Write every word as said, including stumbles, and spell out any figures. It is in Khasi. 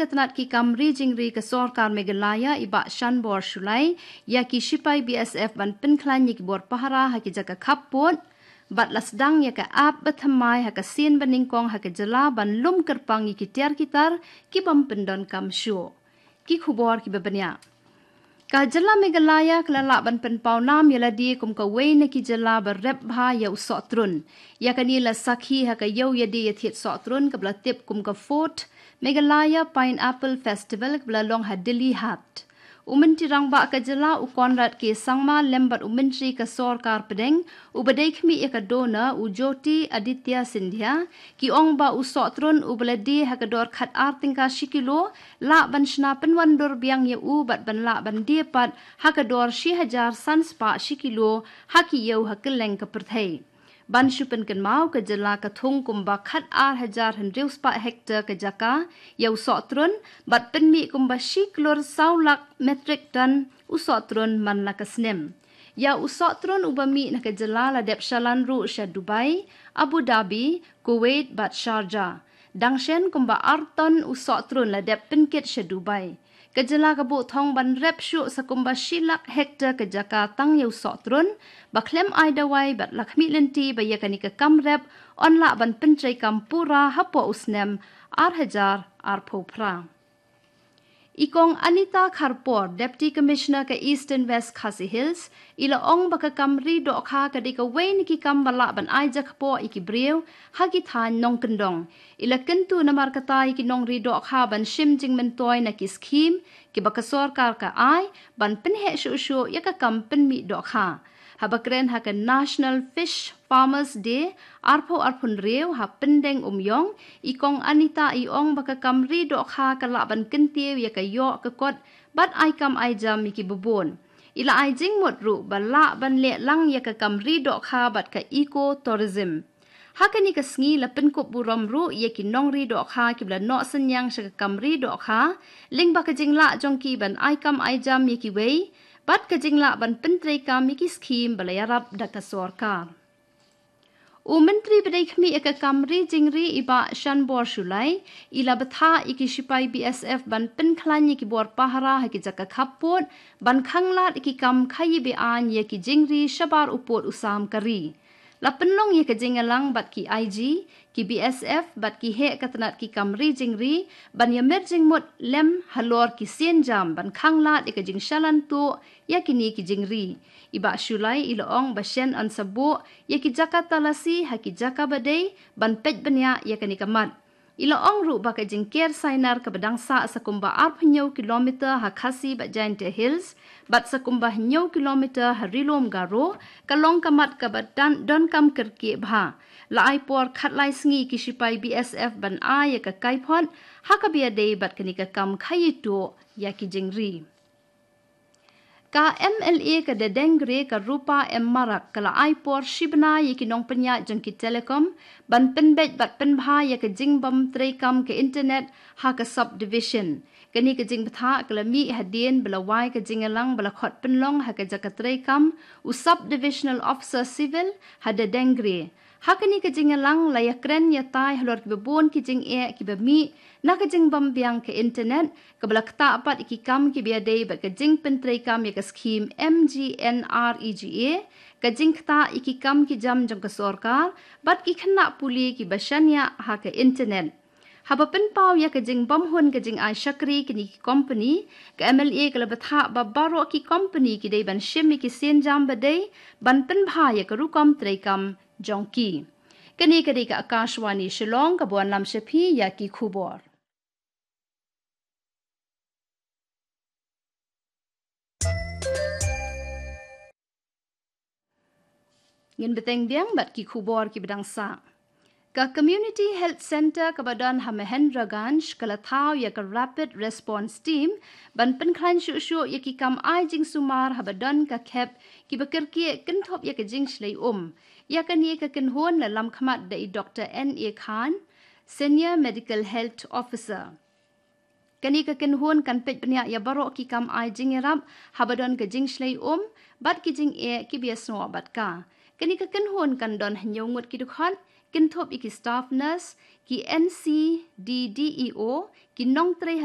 ka tnat ki kam ri jingri ka sorkar Meghalaya i Bah Shanbor Shullai ïa ki shipai B S F ban pynkhlaiñ ïa ki bor pahara ha ki jaka khappud, bad la sdang ïa ka app bathymmai ha ka sien banyngkong ha ka jylla ban lum kyrpang ïa ki tiar ki tar ki bym pyndonkam shuh. Ki khubor kiba bniah. Ka jylla Meghalaya ka la lah ban pynpaw nam ïa lade kum kawei na ki jylla ba rep bha ïa u sohtrun. Ïa kane la sakhi ha ka ïew ïadie ïathied sohtrun kaba la tip kum ka Fourth Meghalaya Pineapple Festival kaba la long ha Dilli Haat. U Myntri Rangbah ka jylla u Conrad K Sangma lem bad u Myntri ka sorkar pdeng uba dei khmih ïa ka DoNER u Jyotiraditya Scindia, ki ong ba u sohtrun uba la die ha ka dor khat ar tyngka shi kilo lah ban shna pynwandur biang ïa u bad ban lah ban die pat ha ka dor shi hajar san spah shi kilo ha ki ïew ha kylleng ka pyrthei. Ban shu pynkynmaw, ka jylla ka thung kumba khat ar hajar hynriew spah hektar ka jaka ïa u sohtrun bad pynmih kumba shi klur saw lak metrik ton u sohtrun man la ka snem. Ïa u sohtrun uba mih na ka jylla la dep shalan ruh sha Dubai, Abu Dhabi, Kuwait bad Sharjah. Dang shen kumba ar ton u sohtrun la dep pynkit sha Dubai. Ka jylla ka buh thong ban rep shuh sa kumba shi lak hektar ka jaka tang ïa u sohtrun, ba khlem ai dawai bad la khmih lynti ba ïa kane ka kam rep yn lah ban pyntreikam pura hapoh u snem ar hajar arphew phra. I Kong Anita Kharpor, Deputy Commissioner ka Eastern West Khasi Hills, i la ong ba ka kam ri dohkha ka dei kawei na ki kam ba lah ban ai jakpoh ïa ki briew ha ki thaiñ nongkyndong. I la kyntu namar kata ïa ki nongri dohkha ban shim jingmyntoi na ki skhim kiba ka sorkar ka ai ban pynheh shuh shuh ïa ka kam pynmih dohkha. Haba kren ha ka National Fish Farmers Day arphew arphew hynriew ha Pyndengumiong, i Kong Anita i ong ba ka kam ri dohkha ka lah ban kyntiew ïa ka ïoh ka kot bad ai kam ai jam ïa kiba bun. I la ai jingmut ruh ba lah ban leh lang ïa ka kam ri dohkha bad ka eco tourism. Ha kane ka sngi la pynkup burom ruh ïa ki nongri dohkha kiba la noh synñiang sha ka kam ri dohkha, lyngba ka jinglah jong ki ban ai kam ai jam ïa kiwei bad ka jinglah ban pyntreikam ïa ki skhim ba la ïarap da ka sorkar. U Myntri ba dei khmih ïa ka kam ri jingri i Bah Shanbor Shullai i la bthah ïa ki shipai B S F ban pynkhlaiñ ïa ki bor pahara ha ki jaka khappud ban khanglad ïa ki kam khaïi be-aiñ ïa ki jingri shabar u pud u sam ka ri. La pynlong ïa ka jingïalang bad ki I G, ki B S F bad ki heh ka tnat ki kam ri jingri ban ïamir jingmut lem halor ki sienjam ban khanglad ïa ka jingshalan tuh ïa kine ki jingri. I Bah Shullai i la ong ba shen yn sa buh ïa ki jaka talasi ha ki jaka ba dei ban peit bniah ïa kane ka mat. I la ong ruh ba ka jingker sainar kaba dang sah sa kumba arphew hynñiew kilometer ha Khasi bad Jaintia Hills bad sa kumba hynñiew kilometer ha Ri-lum Garo ka long ka mat kaba donkam kyrkieh bha. La ai por khatlai sngi ki shipai B S F ban ai ïa ka kaiphod ha kaba ïadei bad kane ka kam khaïi tuh ïa ki jingri. Ka M L A ka Dadeng Gre ka Rupa M Marak ka la ai por shi bnai ïa ki nongpynïaid jong ki Telecom ban pynbeit bad pynbha ïa ka jingbym treikam ka internet ha ka subdivision. Kane ka jingbthah ka la mih hadien ba la wai ka jingïalang ba la khot pynlong ha ka jaka treikam u Subdivisional Officer Civil ha Dadeng Gre. Ha kane ka jingïalang la ïakren ïatai halor kiba bun ki jingeh kiba mih na ka jingbym biang ka internet kaba la ktah pat ïa ki kam kiba ïadei bad ka jingpyntreikam ïa ka skhim M G N R E G A, ka jingktah ïa ki kam ki jam jong ka sorkar bad ki khynnah pule kiba shaniah ha ka internet. Haba pynpaw ïa ka jingbymhun ka jingai shakri kine ki kompani, ka M L A ka la bthah ba baroh ki kompani ki dei ban shim ïa ki sienjam ba dei ban pynbha ïa ka rukom treikam jong ki. Kane ka dei ka Akashvani Shillong kaba wanlam sha phi ïa ki khubor. Ngin bteng biang bad ki khubor kiba dang sah. Ka Community Health Centre kaba don ha Mahendraganj ka la thaw ïa ka Rapid Response Team ban pynkhlaiñ shuh shuh ïa ki kam ai jingsumar haba don ka khep kiba kyrkieh kynthup ïa ka jingshlei um. Ïa kane ka kynhun la lamkhmat da i Doktor N A Khan, Senior Medical Health Officer. Kane ka kynhun kan peit bniah ïa baroh ki kam ai jingïarap haba don ka jingshlei um bad ki jingeh kiba ïasnoh bad ka. Kane ka kynhun kan don hynñiew ngut ki dkhot, kynthup ïa ki staff nurse, ki N C D D E O, ki nongtrei ha